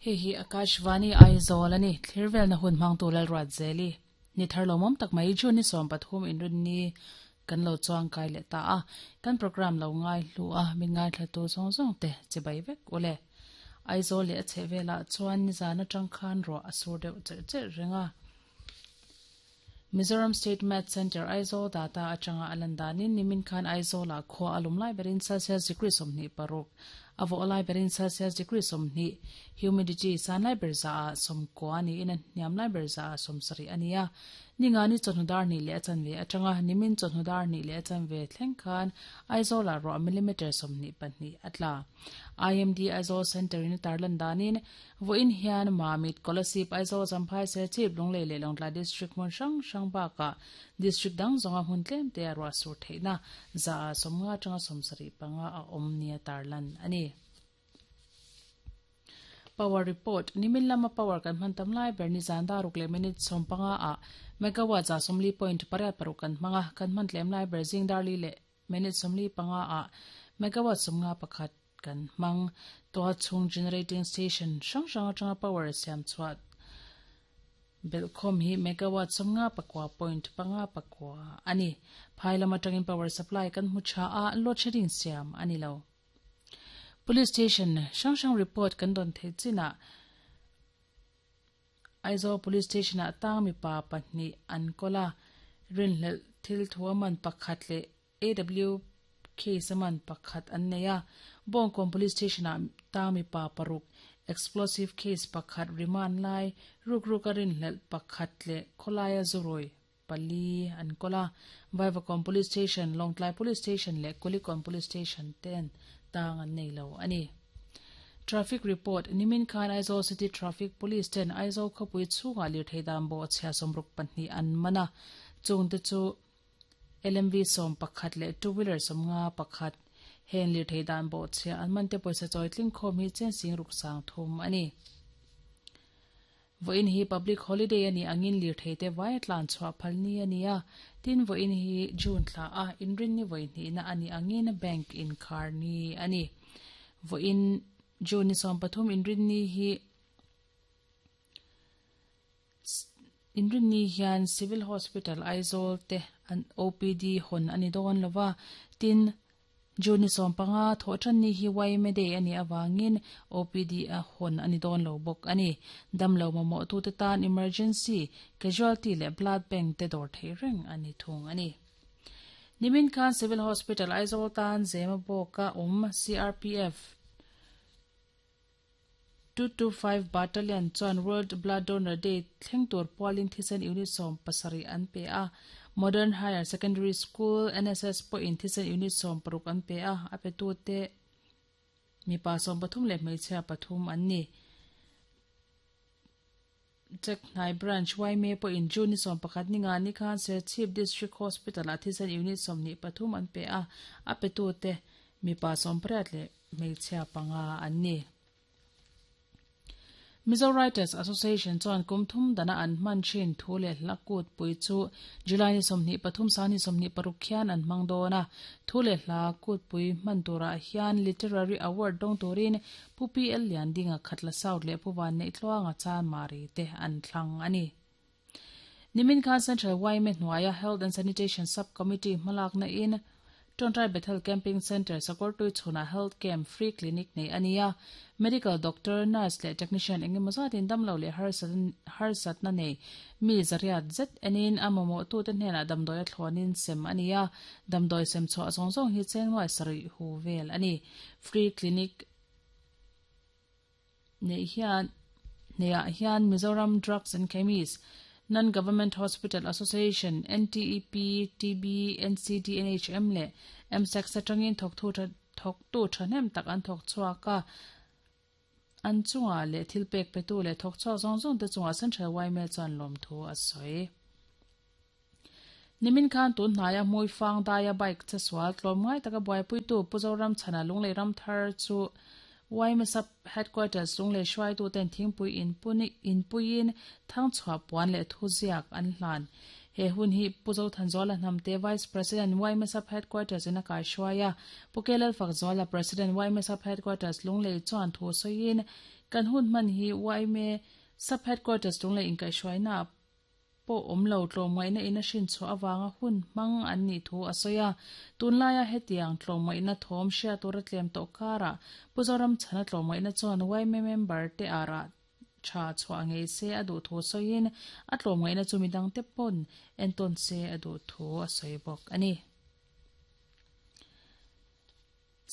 Hei hi Akashvani Aizawl a ni. Thlir velna hun hmangtu Lalruatzeli ni thar lawmawm tak mai June ni 13 inrinni kan lo chuang kai leh ta a. Kan program lo ngai hlu a, min ngaithlatu zawng zawng te chibai vek u le. Aizawl leh a chheh velah chuan nizan atang khan ruah a sur deuh cherh cherh reng a. Mizoram State Math Centre Aizawl data atanga a lan danin nimin khan Aizawlah khua a lum lai berin Celsius degree 26, a vawh lai berin Celsius degree 20, humidity san lai ber zaah 90 niin a hniam lai ber zaah 70 a ni a. Ningani chawhnu dar hnih leh a chanve atanga nimin chawhnu dar hnih leh a chanve thleng khan Aizawlah ruah millimetre 22 a tla. IMD Aizawl Centre in a tarlan danin Vawiin hian Mamit, Kolasib, Aizawl, Champhai, Serchhip, Lunglei leh Lawngtlai District hmun hrang hrang bakah District dang zawnga hmun tlem te a ruah sur theihna zaah 50 atanga 75 a awm nia tarlan a ni. Power Report, Nimin lama power kan hman tam lai ber nizan daruk leh minute 15 ah megawatt za 40.86 kan hmang a, kan hman tlem lai ber zing darli leh minute 45 ah megawatt 51 kan hmang. Tual chhung generating station hrang hrang atanga power siam chhuah belhkhawm hi megawatt 59.59 a ni. Phai lam atangin power supply kan hmu tha a, load shedding siam a ni lo. Police station hrang hrang report kan dawn theih chinah Aizawl Police Station ah tang mipa pahnih an kawl a, rinhlelh thil thu a man pakhat leh AW case a man pakhat an nei a. Bawngkawn Police Station ah tang mipa paruk, explosive case pakhat remand lai, rukruk a rinhlelh pakhat leh khawlaia zurawi pali an kawl a. Vaivakawn Police Station, Lawngtlai Police Station leh Kulikawn Police Station ten tang an nei lo a ni. Traffic Report, Nimin khan Aizawl City Traffic Police ten Aizawl khawpui chhungah lirthei dan bawhchhia 62 an man a, chungte chu LMV 11 leh two wheeler 51. Heng lirthei dan bawhchhia an man te pawisa chawi tling khawm hi chen sing ruk sang thum a ni. Vawiin hi public holiday a nih angin lirthei te vai a tlan chhuah phal ni a ni a, tin vawiin hi June thla a inrinni vawi hnihna a nih angin bank inkhar ni a ni. Vawiin June ni 13 inrinni hi Inrinni hian Civil Hospital Aizawl te an OPD hawn a ni dawn lo va, tin June ni 15 thawhtanni hi YMA Day a nih avangin OPD a hawn a ni dawn lo bawk a ni. Damlo mamawhtute tan Emergency, Casualty leh Blood Bank te dawr theih reng a ni thung a ni. Nimin khan Civil Hospital Aizawl tan Zema bawka awm CRPF, 225 Battalion chuan World Blood Donor Day thleng tur pualin thisen unit 17 an pe a. Modern Higher Secondary School, NSS pawhin thisen unit 60 an pe a, a petute mipa 13 leh hmeichhia pathum an ni. Jack Hnai Branch YMA pawhin June ni 11 ni nga ni khan Serchhip District Hospital-ah thisen unit 23 an pe a, a petute mipa 18 leh hmeichhia panga an ni. Mizo Writers Association chuan kum thum dana an hman thin thu leh hla kut pui chu July ni 23 sang ni 26 khian an hmang dawn a. Thu leh hla kut pui hman turah hian Literary Award dawng turin Pu PL Liandinga Khatla South leh Pu Vanneih Tluanga Chanmari te an thlang a ni. Nimin khan Central YMA hnuaia Health and Sanitation Sub-Committee hmalakna in Tontai Bethel Camping Centre Sakawrtui chhunah Health Camp Free Clinic nei a ni a. Medical Doctor, Nurse leh Technician engemaw zatin damlo leh harsatna nei mi zariat zet enin a mamawhtute hnenah damdawi a thlawnin sem a ni a. Damdawi sem chhuah zawng zawng hi cheng nuai sarih hu vel a ni. Free Clinic Nei hian Neiah hian Mizoram Drugs and Chemist, Non-Government Hospital Association, NTEP, TB, NCD, NHM leh MSACS atangin thawktu thawktu thahnem tak an thawk chhuak a, an chungah leh thil pek petu leh thawk chhuak zawng zawng te chungah Central YMA chuan lawmthu a sawi. Nimin khan tun hnaia hmui fang daia bike che sual tlawm ngai taka buaipuitu Pu Zoramchhana Lunglei Ramthar chu YMA Sub Headquarters Lunglei hruaituten thingpui inpuiin thangchhuah puan leh thuziak an hlan. He hun hi Pu Zothanzuala Hnamte Vice President yma Sub Headquarters in a kaihruai a, Pu Kelalfakzuala President yma Sub Headquarters Lunglei chuan thu sawiin kan hun hman hi yma Sub Headquarters Lunglei inkaihhruaina pawh awm lo tlawmngaihna in a hrin chhuah avanga hun hmang an nih thu a sawi a. Tunlaia hetiang tlawmngaihna thawm hriat tur a tlem tawh karah Pu Zoramchhana tlawmngaihna chuan yma member te ah rah tha chhuah ngei se a duh thu sawiin a tlawmngaihna chu midangte pawn entawn se a duh thu a sawi bawk a ni.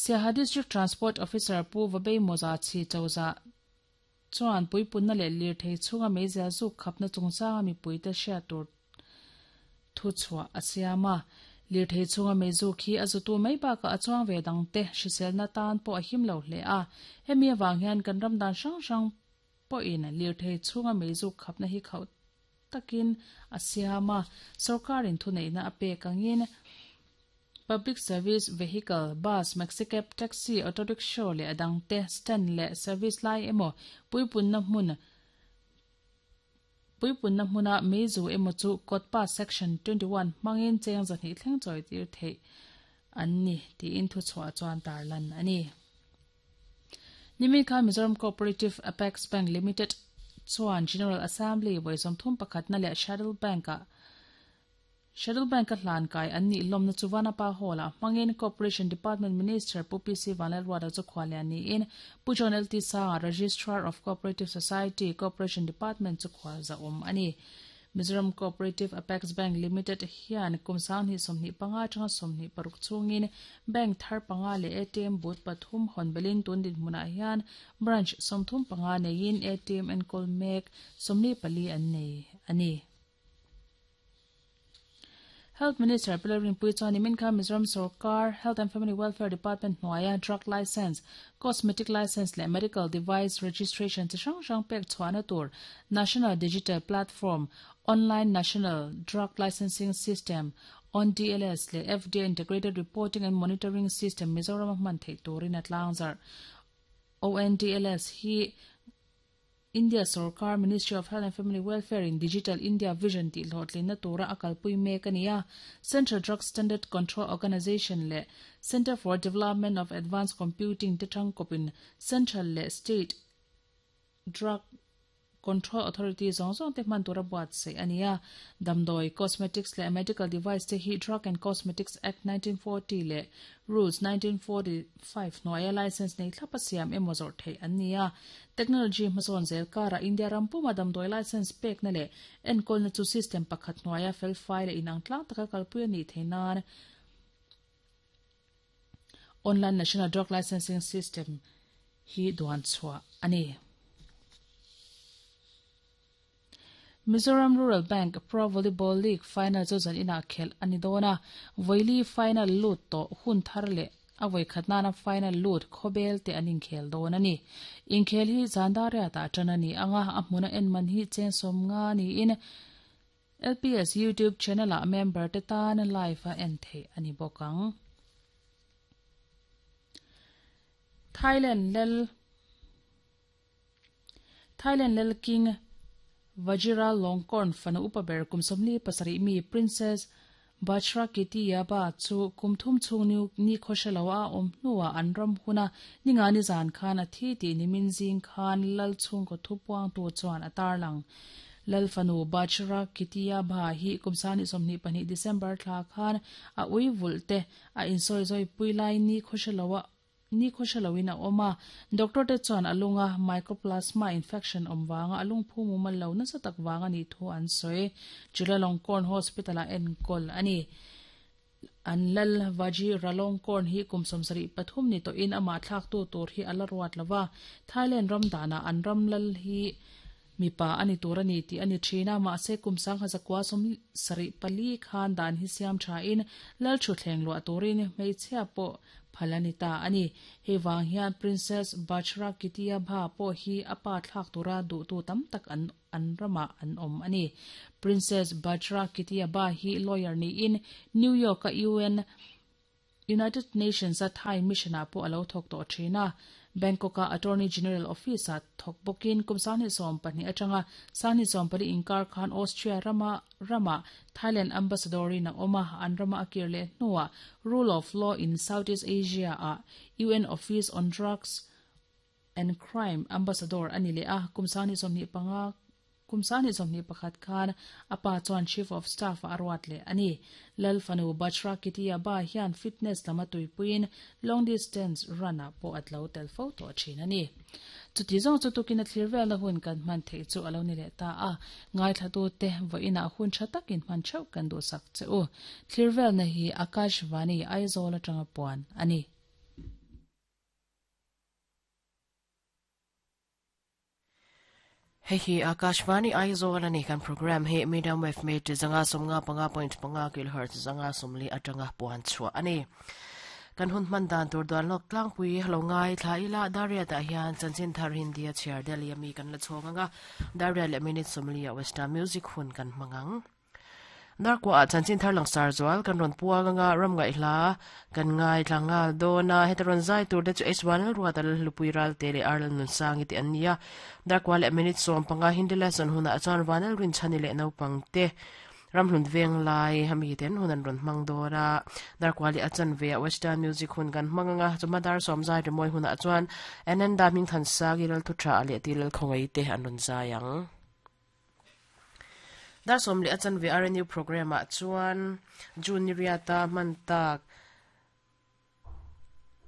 Siaha District Transport Officer Pu Vabei Mawza Chhi Chozah chuan puipunna leh lirthei chhunga meizial zuk khapna chungchanga mipuite hriat tur thu chhuah a siam a. Lirthei chhunga meizuk hi a zutu mai bakah a chuang ve dangte hriselna tan pawh a him lo hle a. Hemi avang hian kan ram dan hrang hrang pawhin lirthei chhunga meizuk khapna hi khauh takin a siam a. Sorkarin thuneihna a pek angin Public Service Vehicle, Bus, Maxicab, Taxi, Auto Rickshaw leh a dangte stand leh service lai emaw puipunna hmun Puipunna hmuna meizu emaw chu Kawtpa Section 21 hmangin cheng zahnih thleng chawi tir theih an ni tiin thuchhuah chuan tarlan a ni. Nimin khan Mizoram Cooperative Apex Bank Limited chuan General Assembly vawi 31 na leh Shuttle Bank-ah Schedule Bank-a hlan kai an nih lawmna chu Vanapa Hall-ah hmangin Cooperation Department Minister Pu PC Vanlalruata chu khuallian niin Pu John LT Sanga, Registrar of Cooperative Society, Cooperation Department chu khual zahawm a ni. Mizoram Cooperative Apex Bank Limited hian kum 2025 atanga 26 chhungin bank thar panga leh ATM booth pathum hawn belin tun dinhmunah hian branch 35 neiin ATM enkawl mek 44 an nei a ni. Health Minister Pi Lalrinpuii chuan nimin khan Mizoram sorkar Health and Family Welfare Department hnuaia drug licence, cosmetic licence leh medical device registration chi hrang hrang pek chhuahna tur National Digital Platform, Online National Drug Licensing System, ONDLS, leh FDA Integrated Reporting and Monitoring System Mizorama hman theih turin a tlangzarh. ONDLS hi India sorkar Ministry of Health and Family Welfare in Digital India Vision tih hlawhtlinna tura a kalpui mek a ni a. Central Drug Standard Control Organisation leh Centre for Development of Advanced Computing te tangkawpin Central leh State Drug Control Authority zawng zawng te hman tura buatsaih a ni a. Damdawi, cosmetics leh medical device te hi Drug and Cosmetics Act 1940 leh Rules 1945 hnuaia licence nei thlap a siam emaw zawrh theih an ni a. Technology hmasawn zel karah India ram puma damdawi licence pekna leh enkawlna chu system pakhat hnuaia felfai leh inang tlang taka kalpui a nih theih nan Online National Drug Licensing System hi duan chhuah a ni. Mizoram Rural Bank Pro Volleyball League final chu zan inah khelh a ni dawn a, vawili final lut tawh hun thar leh a vawikhat nana final lut khawbel te an inkhel dawn a ni. Inkhel hi zan dariatah tan a ni ang a, a hmuna en man hi cheng 50 niin LPS YouTube channel-ah member te tan live a en theih a ni bawk ang. Thailand lal. Thailand lal King Vajiralongkorn fanu upa ber kum 47 mi Princess Bajrakitiyabha chu kum thum chhung ni khawhre lo a awm hnuah an ram huna ningani zan khan a thi tih nimin zing khan lal chhungkaw thupuangtu chuan a tarlang. Lal fanu Bajrakitiyabha hi kum 2022 December thla khan a ui vulh te a insawizawi pui lai ni khawhre lo a Ni khawhre loin a awm a, doctor te chuan a lunga mycoplasma infection awm vanga a lungphu mumal lo nasa tak vang a nih thu an sawi. Chulalongkorn Hospital ah enkawl a ni. An lal Vajiralongkorn hi kum 73 ni tawhin amah thlaktu tur hi a la ruat lo va, Thailand ram danah an ram lal hi mipa a ni tur a ni tih a ni thin a, mahse kum 1974 khan dan hi siam thain lal thutthleng luah turin hmeichhia pawh phal a ni ta a ni. Hei vang hian Princess Bajrakitiyabha pawh hi a pa thlak tura duhtu tam tak an an ramah an awm a ni. Princess Bajrakitiyabha hi lawyer niin New York-a UN United Nations-a Thai mission-ah pawh a lo thawk tawh thin a. Bangkok-a Attorney General Office-ah thawk bawkin kum 2012 atanga 2014 inkar khan Austria rama ramah Thailand Ambassador-in a awm a, an rama a kir leh hnuah Rule of Law in Southeast Asia-ah UN Office on Drugs and Crime Ambassador a ni leh a, kum 2025 Kum 2021 khan a pa chuan Chief of Staff ah a ruat leh a ni. Lal fanu Bachra Kitiya Ba hian fitness lam a tuipuiin long distance run ah pawh a tlo tel fo tawh thin a ni. Chuti zawng chu tukin a thlir velna hun kan hman theih chu a lo ni leh ta a, ngaithlatute vawiinah hun tha takin hman theuh kan duhsak che u. Thlir velna hi Akashvani Aizawl atanga puan a ni. Hei hi Akashvani Aizawl a ni. Kan program hi medium wave meter 155.5 kilohertz 140 atanga puan chhuah a ni. Kan hun hman dan tur duan lawk tlangpui lo ngai thla ila Dariat ah hian chanchin thar Hindi a chhiar Delhi a mi kan la chhawng anga Dariat leh minute 40 ah Western music hun kan hmang ang. Darkuah ah chanchin thar langsar zual kan rawn puang anga ram ngaihhla kan ngaithla nghal dawn a, heta rawn zai tur te chu H1 Ruata Lalhlupui Ralte leh Arlan Nunsangi te an ni a, Darkuah leh minute 15 Hindi lesson hunah chuan Vanel Rinchhani leh naupang te ramhlun veng lai ami ten hun an rawn hmang dawn a, Darkuah leh a chanve ah Western music hun kan hmang anga chawhma dar sawm zai rimawi hunah chuan Ananda Hmingthansangi Lalthuthra leh Tilalkhawngaih te an rawn zai ang. Dar 10 a chanve RNU programme ah chuan June ni riata hman tak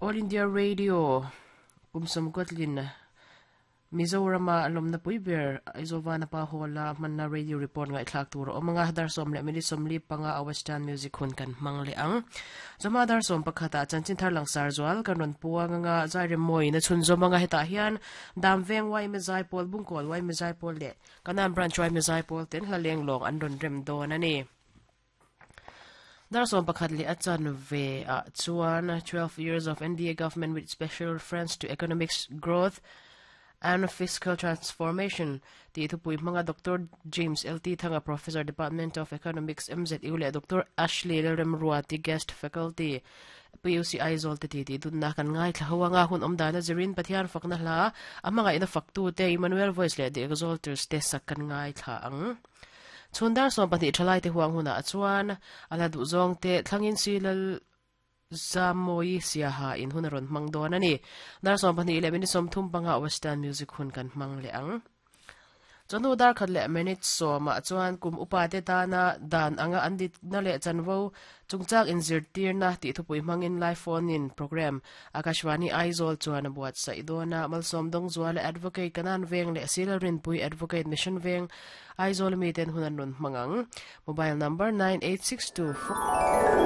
All India Radio kum sawmkuatlin Mizorama lawmna pui ber Aizawl Vanapa Hall-a hmanna radio report ngaihthlak tur a awm ang a, dar 10 leh minute 45 a Western Music hun kan hmang leh ang. Chawhma dar 11 ah chanchin thar langsar zual kan rawn puang ang a, Zairemmawiin a chhunzawm ang a, hetah hian Damveng yma Zaipawl, Bungkawl yma Zaipawl leh Kanan Branch yma Zaipawl ten hla leng lawng an rawn rem dawn a ni. Dar 11 leh a chanve ah chuan 12 years of NDA government with special reference to economic growth and fiscal transformation tih thupui hmanga Doctor James LT Thanga Professor Department of Economics MZU leh Doctor Ashley Lalremruati Guest Faculty PUC Aizawl te titi dunna kan ngaithla ho anga hun awm dana zirin Pathian fakna hla a hmangaihna faktute Emmanuel Voice leh The Exalters te sak kan ngaithla ang. Chhun dar 12 thalai te huang hunah chuan a hla duhzawng te thlangin si lal Zammawi Siaha in hun a rawn hmang dawn a ni. Dar 12 leh minute 35 Western Music hun kan hmang leh ang. Chawhnu dar khat leh minute sawmah chuan kum upate tana dan anga an ditna leh chanvo chungchang inzirtirna tih thupui hmangin live phone-in programme Akashvani Aizawl chuan a buatsaih dawn a. Malsawm Dawngzuala Advocate Kanan Veng leh Sila Rinpui Advocate Mission Veng Aizawl miten hun an rawn hmang ang. Mobile number 9862.